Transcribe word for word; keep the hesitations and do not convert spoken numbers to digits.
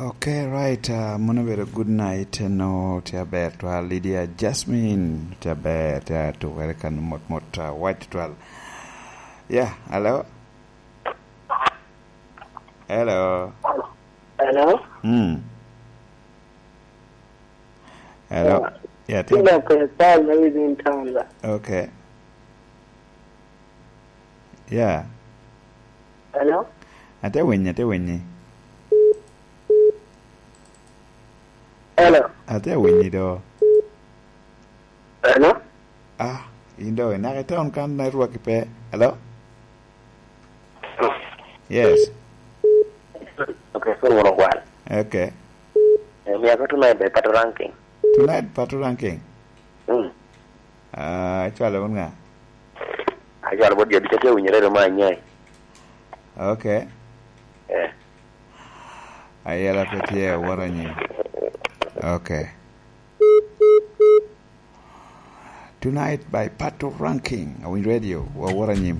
Ok, right. Uh, mono obedo good night. No, tye aber twal. Lydia Jasmine, tye aber, tye atukere kan mot mot, uh, white twal. Yeah, hello? Hello? Hello? Hmm. Hello? Yeah. Yeah, tye Tina Purcell, maybe in town, ba. Okay. Yeah. Hello? Ate winyi, ate winyi. Hello? Ate winyi do. Hello? Ah, in do inaka i town kan network pe. Hello? Yes. Okay, so mono gwal. Okay. Eh, mi ako tonight by Pato Ranking. Tonight, Pato Ranking? Hmm. Ah, icwalo wun ŋa? Acwalo bot jo ducu, atye winyo redo ma anyai. Okay. Eh. Ayela pe tye, awot anyim. Okay. Tonight by Pato Ranking. Awinyo radio, awot anyim.